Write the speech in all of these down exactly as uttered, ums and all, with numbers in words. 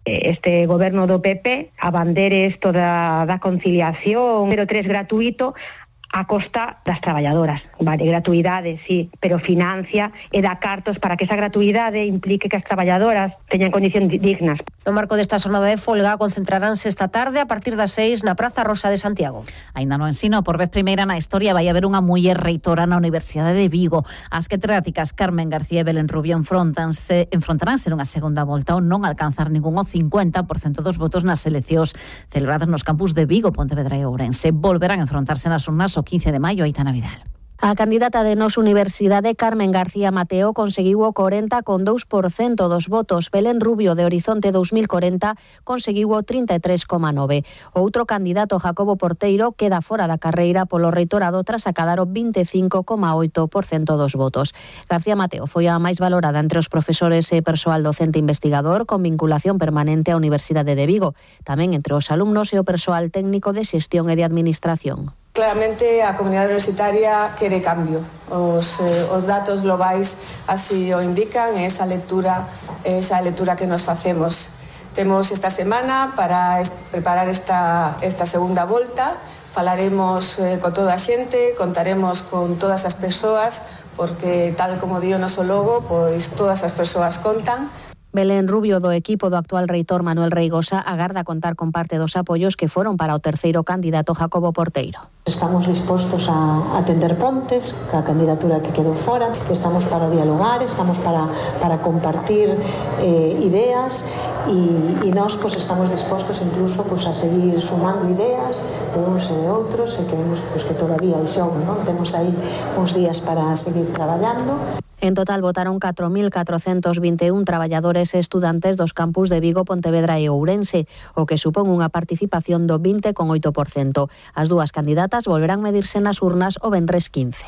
Este goberno do P P abandere isto da, da conciliación, pero tres gratuito a costa das traballadoras. Vale, gratuidade, sí, pero financia e dá cartos para que esa gratuidade implique que as traballadoras teñan condicións dignas. No marco desta xornada de folga concentraránse esta tarde a partir das seis na Praza Rosa de Santiago. Aínda no ensino, por vez primeira na historia vai haber unha muller reitora na Universidade de Vigo. As catedráticas Carmen García e Belén Rubio enfrontanse, enfrontaránse nunha segunda volta ao non alcanzar ningún o cincuenta por cento dos votos nas eleccións celebradas nos campus de Vigo, Pontevedra e Ourense. Volverán a enfrontarse nas urnas o quince de maio. Aitana Vidal. A candidata de Nos Universidade, Carmen García Mateo, conseguiu o corenta coma dous por cento dos votos. Belén Rubio, de Horizonte dos mil corenta, conseguiu o trinta e tres coma nove por cento. O outro candidato, Jacobo Porteiro, queda fora da carreira polo reitorado tras acadar o vinte e cinco coma oito por cento dos votos. García Mateo foi a máis valorada entre os profesores e persoal docente investigador con vinculación permanente á Universidade de Vigo, tamén entre os alumnos e o persoal técnico de xestión e de administración. Claramente a comunidade universitaria quere cambio. Os, eh, os datos globais así o indican, esa lectura, esa lectura que nos facemos. Temos esta semana para est- preparar esta, esta segunda volta. Falaremos eh, con toda a xente, contaremos con todas as persoas, porque tal como di o noso logo, pois todas as persoas contan. Belén Rubio, do equipo do actual reitor Manuel Reigosa, agarda contar con parte dos apoios que foron para o terceiro candidato Jacobo Porteiro. Estamos dispostos a atender pontes, a candidatura que quedou fora, que estamos para dialogar, estamos para, para compartir eh, ideas e, e nós pues, estamos dispostos incluso pues, a seguir sumando ideas de uns e de outros e queremos pues, que todavía hai xogo, non? Temos aí uns días para seguir traballando. En total votaron catro mil catrocentos vinte e un traballadores e estudantes dos campus de Vigo, Pontevedra e Ourense, o que supón unha participación do vinte coma oito por cento. As dúas candidatas volverán medirse nas urnas o venres quince.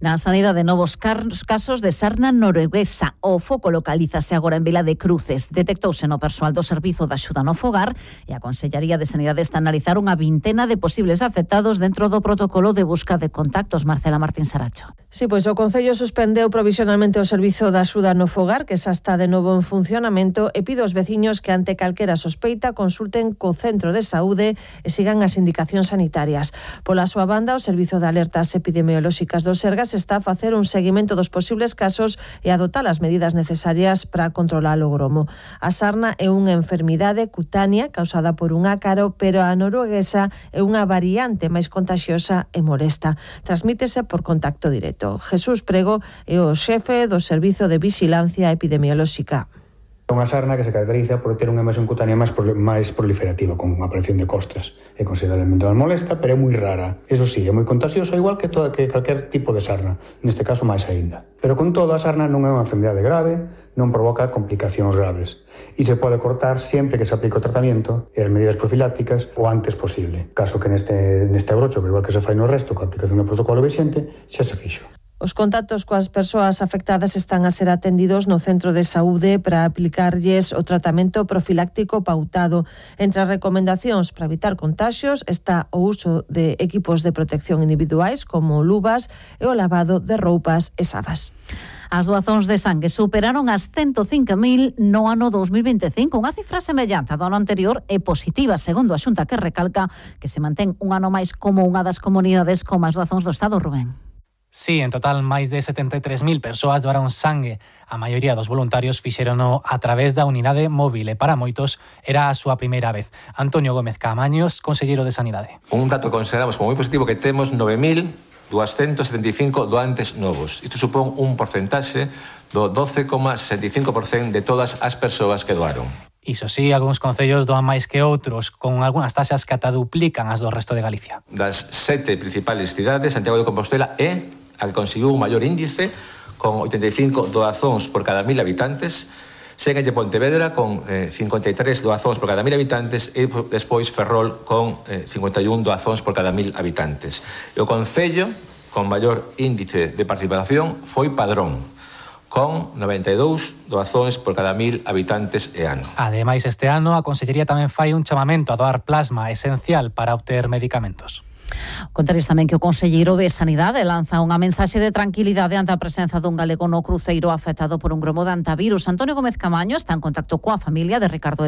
Na sanidade, novos casos de sarna norueguesa. O foco localízase agora en Vila de Cruces. Detectouse no persoal do Servizo de Axuda no Fogar e a Consellería de Sanidade está a analizar unha vintena de posibles afectados dentro do protocolo de busca de contactos. Marcela Martín Saracho. Sí, pois o Concello suspendeu provisionalmente o Servizo de Axuda no Fogar, que xa está de novo en funcionamento, e pide aos veciños que ante calquera sospeita consulten co Centro de Saúde e sigan as indicacións sanitarias. Pola súa banda, o Servizo de Alertas Epidemiolóxicas do Sergas está a facer un seguimento dos posibles casos e adoptar as medidas necesarias para controlar o gromo. A sarna é unha enfermidade cutánea causada por un ácaro, pero a norueguesa é unha variante máis contagiosa e molesta. Transmítese por contacto directo. Jesús Prego é o xefe do Servizo de Vixilancia Epidemiolóxica. Unha sarna que se caracteriza por ter unha emisión cutánea máis, máis proliferativa, con unha aparición de costras. É considerablemente máis molesta, pero é moi rara. Eso sí, é moi contagiosa, igual que, toda, que calquer tipo de sarna, neste caso máis aínda. Pero con todo, a sarna non é unha enfermidade grave, non provoca complicacións graves. E se pode cortar sempre que se aplique o tratamento e as medidas profilácticas o antes posible. Caso que neste, neste abrocho, igual que se fai no resto, coa aplicación do protocolo vixente, xa se fixo. Os contactos coas persoas afectadas están a ser atendidos no centro de saúde para aplicarlles o tratamento profiláctico pautado. Entre as recomendacións para evitar contaxios está o uso de equipos de protección individuais como luvas e o lavado de roupas e sabas. As doazóns de sangue superaron as ciento cinco mil no ano dos mil veinticinco. Unha cifra semellante do ano anterior e positiva, segundo a Xunta, que recalca que se mantén un ano máis como unha das comunidades con máis doazóns do Estado. Rubén. Sí, en total máis de setenta e tres mil persoas doaron sangue. A maioría dos voluntarios fixérono a través da unidade móvil e para moitos era a súa primeira vez. Antonio Gómez Caamaños, conselleiro de Sanidade. Un dato que consideramos como moi positivo que temos nove mil doscientos setenta e cinco doantes novos. Isto supón un porcentaxe do doce coma sesenta e cinco por cento de todas as persoas que doaron. Iso sí, algúns concellos doan máis que outros, con algunhas taxas que ata duplican as do resto de Galicia. Das sete principales cidades, Santiago de Compostela é a que conseguiu un maior índice, con oitenta e cinco doazóns por cada mil habitantes, séguenlle Pontevedra con eh, cincuenta e tres doazóns por cada mil habitantes e despois Ferrol con eh, cincuenta e un doazóns por cada mil habitantes. E o concello con maior índice de participación foi Padrón, con noventa e dous doazóns por cada mil habitantes e ano. Ademais, este ano a Consellería tamén fai un chamamento a doar plasma esencial para obter medicamentos. Contaréis tamén que o conselleiro de Sanidade lanza unha mensaxe de tranquilidade ante a presenza dun galego no cruceiro afectado por un gromo de antivirus. Antonio Gómez Caamaño está en contacto coa familia de Ricardo